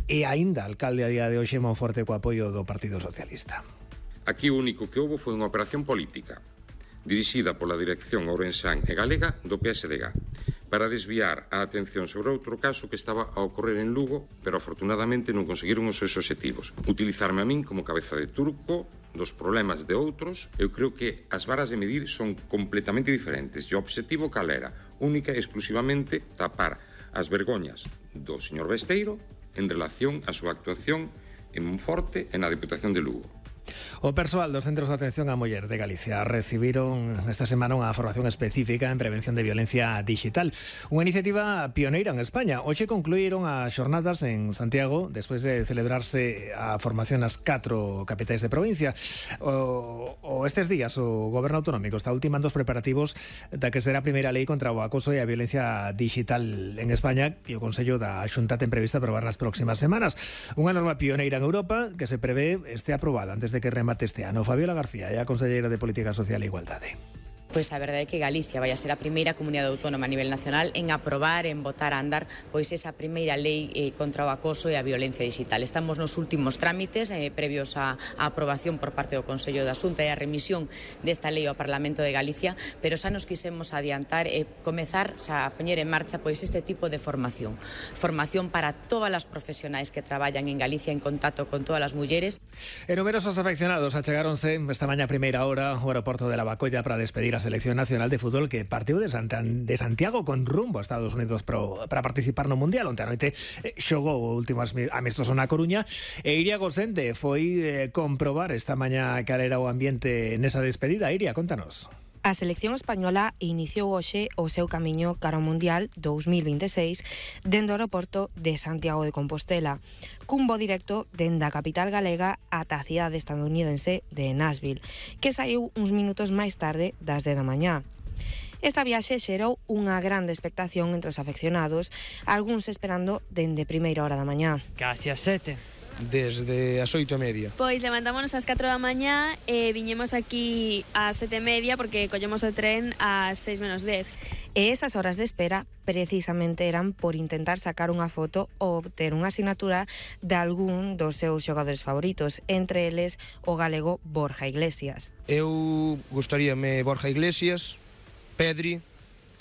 e aínda alcalde a día de hoxe en Monforte co apoio do Partido Socialista. Aquí o único que houbo foi unha operación política dirixida pola dirección ourensán e galega do PSDG para desviar a atención sobre outro caso que estaba a ocorrer en Lugo, pero afortunadamente non conseguiron os seus obxectivos. Utilizarme a min como cabeza de turco dos problemas de outros. Eu creo que as varas de medir son completamente diferentes e o obxectivo cal era? Única e exclusivamente tapar as vergoñas do señor Besteiro en relación á súa actuación en Monforte e na Diputación de Lugo. O persoal dos Centros de Atención á Muller de Galicia recibiron esta semana unha formación específica en prevención de violencia digital, unha iniciativa pioneira en España. Hoxe concluíron as xornadas en Santiago despois de celebrarse a formación nas 4 capitais de provincia. Estes días o Goberno Autonómico está ultimando os preparativos da que será a primeira lei contra o acoso e a violencia digital en España, e o Consello da Xunta ten prevista aprobar nas próximas semanas. Unha norma pioneira en Europa que se prevé este aprobada antes de que remate este ano. Fabiola García é a conselleira de Política Social e Igualdade. Pois a verdade é que Galicia vai a ser a primeira comunidade autónoma a nivel nacional en aprobar, en botar a andar pois esa primeira lei contra o acoso e a violencia digital. Estamos nos últimos trámites previos á aprobación por parte do Consello da Xunta e a remisión desta lei ao Parlamento de Galicia, pero xa nos quisemos adiantar e comezar a poñer en marcha pois este tipo de formación. Formación para todas as profesionais que traballan en Galicia en contacto con todas as mulleres. E numerosos afeccionados achegáronse esta mañá a primeira hora ao aeroporto de Lavacolla para despedir a Selección Nacional de Fútbol que partiu de Santiago con rumbo a Estados Unidos para participar no Mundial. Onte a noite xogou o último amistoso na Coruña e Iria Gosende foi comprobar esta mañá cal era o ambiente nesa despedida. Iria, contanos. A selección española iniciou hoxe o seu camiño cara ao Mundial 2026 dende o aeroporto de Santiago de Compostela, cun voo directo dende a capital galega ata a cidade estadounidense de Nashville, que saiu uns minutos máis tarde das 10 da mañá. Esta viaxe xerou unha grande expectación entre os afeccionados, algúns esperando dende primeira hora da mañá. Casi as 7. Desde as 8:30. Pois levantámonos ás 4 da mañá e viñemos aquí ás 7:30 porque collemos o tren ás 6 menos 10. E esas horas de espera precisamente eran por intentar sacar unha foto ou obter unha asignatura de algún dos seus xogadores favoritos, entre eles o galego Borja Iglesias. Eu gustaríame Borja Iglesias, Pedri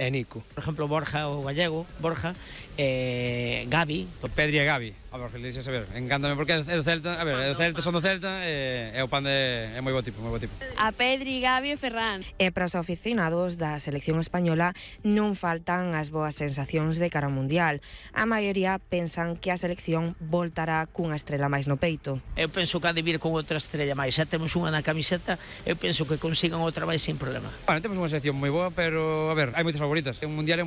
e Nico. Por exemplo, Borja, o gallego, Borja, Gavi. Pedri e Gavi. A Borja Iglesias, a ver, encántame porque é do Celta, a ver, é do Celta, son do Celta, e o pan é moi bo tipo, moi bo tipo. A Pedri, Gavi e Ferran. E para os aficionados da selección española non faltan as boas sensacións de cara ao Mundial. A maioría pensan que a selección voltará cunha estrela máis no peito. Eu penso que ha de vir con outra estrella máis. Xa temos unha na camiseta, eu penso que consigan outra máis sin problema. Bueno, temos unha selección moi boa, pero, a ver, hai moitas favoritas. Un Mundial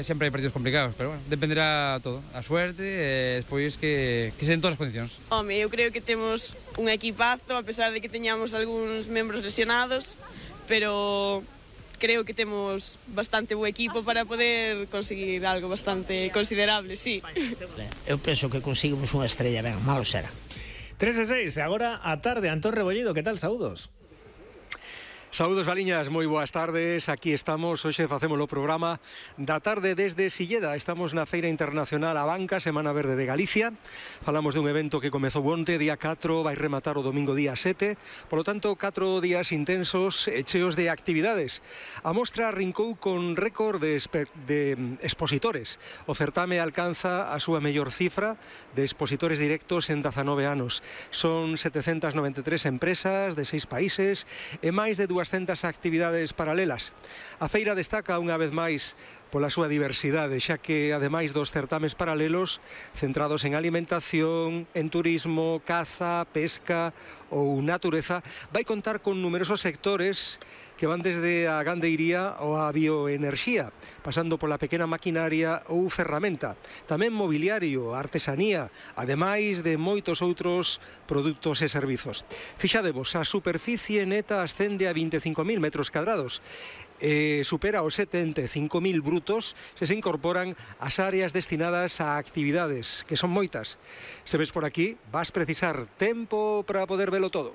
sempre hai partidos complicados, pero, bueno, dependerá todo. A suerte e despois que se den todas as condicións. Home, eu creo que temos un equipazo, a pesar de que teñamos algúns membros lesionados, pero creo que temos bastante bo equipo para poder conseguir algo bastante considerable, sí. Eu penso que conseguimos unha estrella, ben, malo será. 3:06, agora a tarde. Antón Rebollido, que tal? Saúdos. Saúdos, Valiñas, moi boas tardes. Aquí estamos, hoxe facemos o programa da tarde desde Silleda. Estamos na Feira Internacional A Banca, Semana Verde de Galicia. Falamos dun evento que comezou onte, día 4, vai rematar o domingo día 7. Por lo tanto, 4 días intensos e cheos de actividades. A mostra rincou con récord de expositores. O certame alcanza a súa mellor cifra de expositores directos en 19 anos. Son 793 empresas de 6 países e máis de 200 actividades paralelas. A feira destaca unha vez máis pola súa diversidade, xa que, ademais dos certames paralelos centrados en alimentación, en turismo, caza, pesca ou natureza, vai contar con numerosos sectores que van desde a gandeiría ou a bioenerxía, pasando pola pequena maquinaria ou ferramenta, tamén mobiliario, artesanía, ademais de moitos outros produtos e servizos. Fixadevos, a superficie neta ascende a 25.000 metros cadrados, supera os 75.000 brutos se incorporan as áreas destinadas a actividades, que son moitas. Se ves por aquí, vas precisar tempo para poder velo todo.